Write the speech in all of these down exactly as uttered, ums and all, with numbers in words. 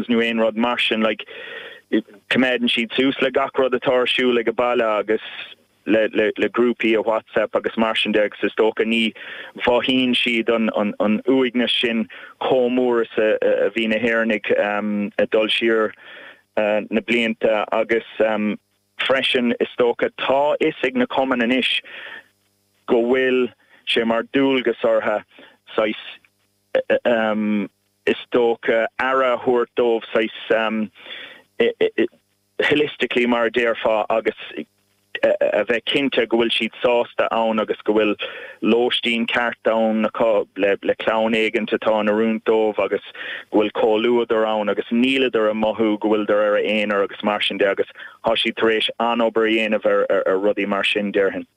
phones nó aon rud mar sin like coimeádann siad suas le gach rud atá ar siúl ag baile agus le, le, le grúpaí a WhatsApp agus mar sin de agus is dócha ní mhothaíonn siad an, an, an uaigneas sin chomh mór is a, a bhí na hÉireannaigh um, a dul siar uh, na blianta agus um, freisin is dócha tá fhios ag na cumainn anois go bhfuil sé mar dualgas orthu saghas um, is dócha aire a thabhairt dóibh saghas um, holistically mar a déarfá agus a bheith cinnte go bhfuil siad sásta ann agus go bhfuil lóistín ceart ann acu le le clann éigin atá in oiriúint dóibh agus go bhfuil comhluadar ann agus níleadar ag mothú go bhfuileadar ar a aonar agus mar sin de agus tá siad tar éis an-obair a dhéanamh ar, ar, ar rudaí mar sin déarfainn.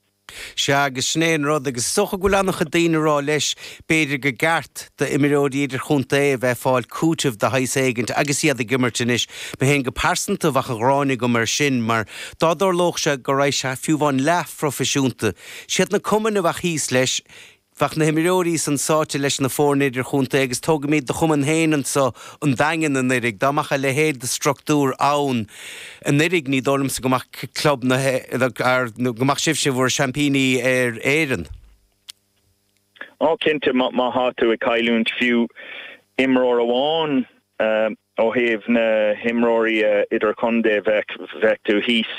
Sea agus sin é an rud agus is dócha go bhfuil an-chuid daoine ag rá leis b'fhéidir gur cheart d'imreoirí idirchontae a bheith ag fáil cúiteamh de shaghas éigint agus iad ag imirt anois. Mé féin go pearsanta bheadh an ghráin agam air sin mar dá dtarlódh sé go raibh sé fiú amháin leathphroifisiúnta. Siad na cumainn a bheadh thíos leis, Bheadh na himreoirí san sáite leis na foirne idirchontae agus tógaimid do chumann féin anseo an Daingean anuraidh, dá mbeadh a leithéid de struchtúr ann anuraidh ní dóigh liomsa go mbeadh club na go mbeadh sibhse bhur seaimpíní ar Éirinn. Ó cinnte má tá tú ag cailliúint fiú imreoir amháin ó thaobh na himreoirí idirchontae bheadh bheadh tú thíos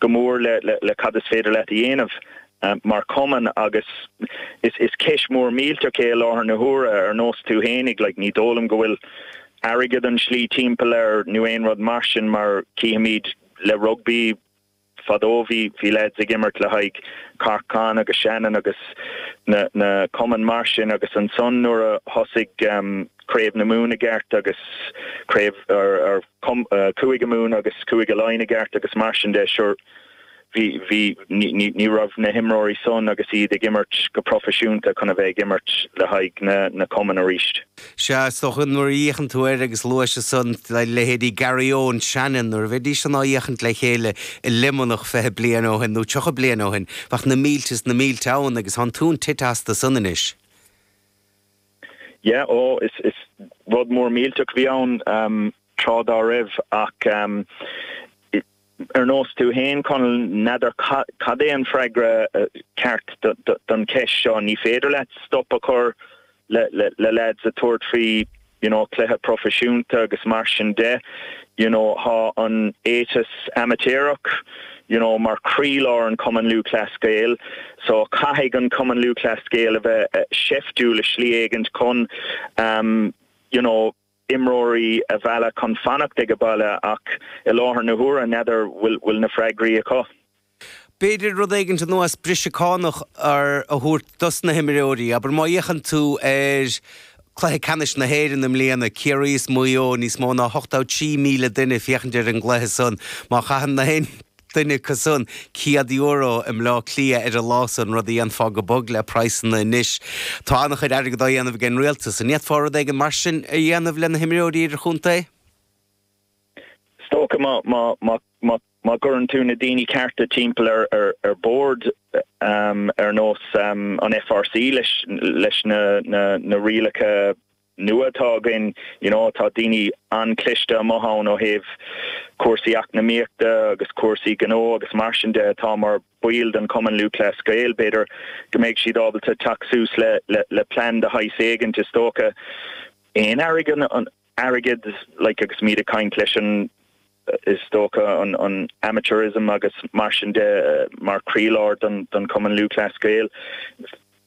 go mór le le le cad is féidir leat a dhéanamh. Um, mar cumann agus is is ceist mór millteach é láthair na huaire ar nós tú fhéinig like, ní dóigh liom go bhfuil airgead an slí timpeall air nó aon rud mar sin mar címid le rugbaí fadó bhí bhí lads ag imirt le haghaidh Corcán agus Shannon agus na na cumainn mar sin agus ansan nuair a thosaigh um, Craobh na Mumhan i gceart agus craobh ar, ar cum, uh, Cúige Mumhan agus Cúige Laighean i gceart agus mar sin de sure bhí bhí ní ní raibh na himreoirí san agus iad ag imirt go proifisiúnta chun a bheith ag imirt le haghaidh na na cumann arís. Sea is dócha nuair a fhéachann tú air agus luaigh san le leithéidí Garryowen Shannon nuair a bhídís san á fhéachaint le chéile i Luimneach fiche bliain ó shin nó tríocha bliain ó shin, bheadh na mílte is na mílte ann agus tá an tóin tite astu san anois. Yeah, ó is is rud mór millteach bhí ann um, tráth dá raibh ach um, ar nós tú féin Conall n'fheadar cad é an freagra uh, ceart don cheist seo ní féidir leat stop a chur le, le, le lads a tabhairt faoi you know, cluiche proifisiúnta agus mar sin de you know, tá an éiteas amaitéarach you know, mar chroílár an Cumann Lúthchleas Gael, so caithfidh an Cumann Lúthchleas Gael a bheith uh, seiftiúil i slí éigin chun um, you know, imreoirí a mhealladh chun fanacht ag baile ach i láthair na huaire n'fheadar bhfuil bhfuil na freagraí acu. B'fhéidir rud éigin ar nós briseadh cánach ar a thabhairt dos na himreoirí, aber má fhéachann tú ar cluiche ceannais na hÉireann i mbliana Ciarraí is Maigh Eo níos mó ná ochtó trí míle duine féachaint ar an gcluiche san má chaitheann na haon duine acu san céad euro i mBleá Cliath ar an lá san rud a dhéanfá go bog le praghsanna anois. Tá an-chuid airgead á dhéanamh ag an rialtas an bhféadfá rud éigin mar sin a dhéanamh le na himreoirí idirchontae? Is dócha má má má má má chuireann tú na daoine cearta timpeall ar ar ar bord um, ar nós um, an FRC leis leis na na, na rialacha nua atá againn you know, tá daoine an-chliste amuigh ann ó thaobh cúrsaí eacnamaíochta agus cúrsaí gnó agus mar sin de atá mar baill den Cumann Lúthchleas Gael b'fhéidir go mbeidh siad ábalta teacht suas le le, le plean de shaghas éigin is dócha aon airgead an airgead like, agus muid ag caint leis an is dócha an, an amateurism agus mar sin de mar chroílár don, don Cumann Lúthchleas Gael.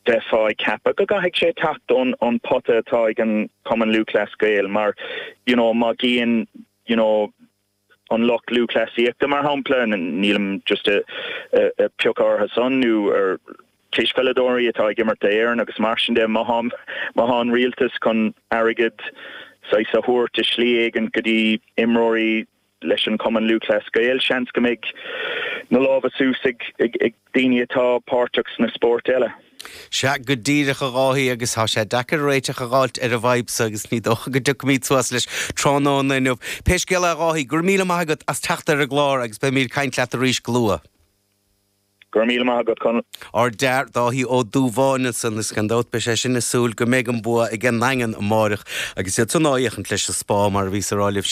Bheifeá ag ceapadh go gcaithfidh sé teacht ón an pota atá ag an Cumann Lúthchleas Gael mar you know, má gíonn you know, an lucht lúthchleasaíochta mar shampla nílim just a, a, a piocadh orthu san nó ar cispheileadóirí atá ag imirt d'Éirinn agus mar sin de má má tá an rialtas chun airgead saghas a thabhairt i slí éigin go dtí imreoirí leis an Cumann Lúthchleas Gael seans go mbeidh na lámha suas ag, ag, ag daoine atá páirteach sna spóirt eile. Sea go díreach a Dháithí agus tá sé deacair réiteach a fháilt ar an bhfadhb seo agus ní dócha go dtiocfaimid suas leis tráthnóna inniu. Pé scéal é a Dháithí, go raibh míle maith agat as teacht ar an gclár agus beimid ag caint leat arís go luath. Go raibh míle maith agat Conall. Ár d'fhear Dáithí Ó Dúbháin ansan is gan dabht beidh sé sin ag súil go mbeidh an bua ag an nDaingean amárach agus iad san á fhéachaint leis an Spá mar a bhí sa ráilih sé